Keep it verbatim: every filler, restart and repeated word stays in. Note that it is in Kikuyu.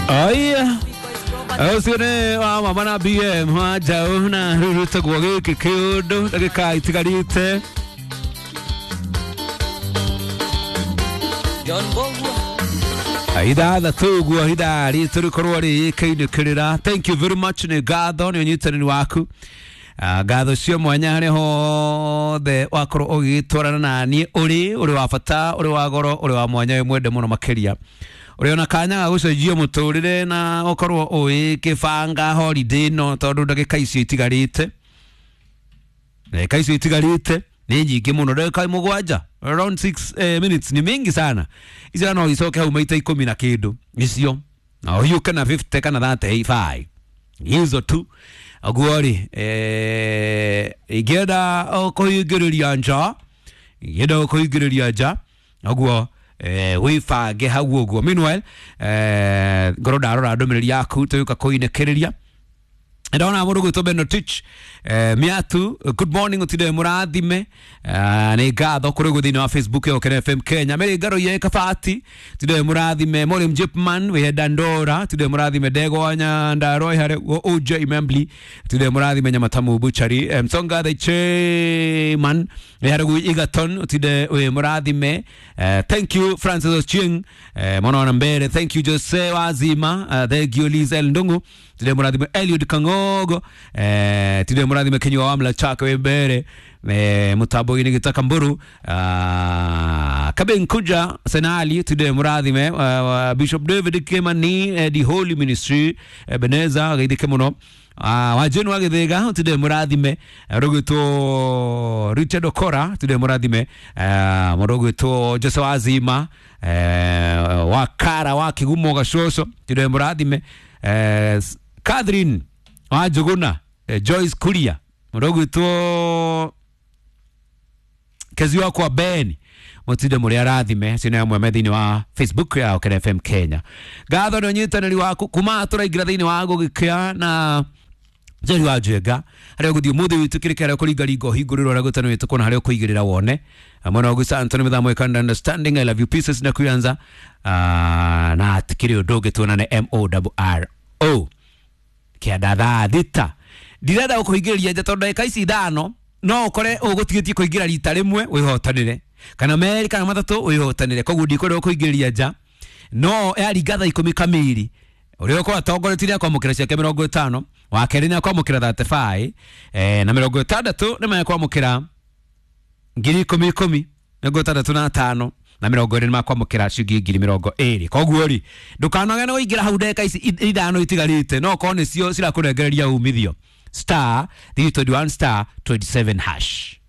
Aya ũcio nĩ wa mama na B M wa njaũ na rĩu rĩtagwo gĩkĩ kĩũndũ ndagĩka itigarĩte ithathatũ ũguo ithaa ritũ rĩkorwo rĩkĩinĩkĩrĩra. Thank you very much nĩ ngatho nĩ ũnyitanĩri waku. Ngatho cio mwanya harĩa hothe wakorwo ũgĩtwarana na niĩ ũrĩ ũrĩ wa bata ũrĩ wa goro ũrĩ wa mwanya wĩ mwende mũno makĩria ũrĩ ona kanya ga gũcenjia mũtũrĩre na ũkorwo ũgĩkĩbanga holiday ĩno tondũ ndagĩka icio itigarĩte ndagĩka icio itigarĩte nĩ nyingĩ mũno ndagĩka mũgwanja around six eh, minutes ni mingi sana icio no icoke hau maita ikũmi na kĩndũ icio na ũhiũke na fifty kana thirty five hizo tu ũguo rĩ eh, ingĩenda kũhingĩrĩria nja ingĩenda kũhingĩrĩria nja ũguo eh, wĩbange hau ũguo. Meanwhile eh, ngorwo ndarora ndũmĩrĩri yaku tũgĩũka kũinĩkĩrĩria ndona mũndũ gwĩtwo Benotich eh, Miatu, good morning ũtinde mũrathime eh, nĩ ngatho kũrĩ ũguo thĩinĩ wa Facebook ya Ũkene F M Kenya. Mary Ngaro ye Kabati tinde mũrathime. Morim Jipman wĩ Dandora tinde mũrathime. Ndegwa Nyandarua harĩ O J Membly tinde mũrathime. Nyamatamu Butchery eh, Msonga the Chairman wĩ harĩ ũguo Egerton ũtinde wĩ mũrathime. eh, thank you Francis Ochieng eh, mwana wa mbere. Thank you Jose Wazima. uh, thank you Lizel Ndungu tinde mũrathime. Eliud Kangogo eh, tinde mũrathime. Kinyua wa Mlachaka wĩ mbere eh, mutambo-inĩ gĩtaka mburu uh, Kabenkuja Senali tinde mũrathime. uh, Bishop David Kimani eh, the Holy Ministry eh, Beneza geithĩke mũno. Uh, wajeni wa Gĩthĩga tinde mũrathime. Rũgwĩtwo Richard Okora tinde mũrathime. Mũndũ ũgwĩtwo Jose Wazima eh, wa Kara wa Kigumo Gacoco tinde mũrathime. eh, Catherine wa Njuguna eh, Joyce Kuria mũndũ ũgwĩtwo Kezi wakwa Ben mũtinde mũrĩ arathime. Acio nĩ amwe me thĩinĩ wa Facebook ya Ũkene F M Kenya. Ngatho nĩ ũnyitanĩri waku kuma tũraingĩra thĩinĩ wa gũgĩkĩa na Njeri wa Njenga harĩa ũgũthiĩ ũmũthĩ wĩtĩkĩrĩke harĩa ũkũringaringa ũhingũrĩrwo harĩa gũtano wĩtũkwo na harĩa ũkũigĩrĩra wone mwena wa Gusa Anthony Mĩthamo Ĩkanda understanding I love you pieces na kuyanza na atikĩrĩ ũndũ ũngĩ tuonane M O R O kĩanda thaa thita. Ndirenda gũkũhingĩrĩria nja tondũ ndagĩka ici ithano no ũkore ũgũtigĩtie kũingĩra rita rĩmwe wĩhotanĩre kana merĩ kana matatũ wĩhotanĩre koguo ndikwenda gũkũingĩrĩria nja no yaringa thaa ikũmi kamiri ũrĩa ũkorwo atongoretie nĩ akwamũkĩra ciake mĩrongo ĩtano wa kerĩ nĩ akwamũkĩra thirty five eh, na mĩrongo ĩtandatũ nĩ mekwamũkĩra ngiri ikũmi ikũmi mĩrongo ĩtandatũ na tano na mĩrongo ĩrĩ nĩ makwamũkĩra ciringi ngiri mĩrongo ĩrĩ. Koguo rĩ ndũkanoge nĩ kũingĩra hau ndagĩka ici ithano itigarĩte no okorwo nĩcio cirakũnengereria umithio star three twenty one star twenty seven hash.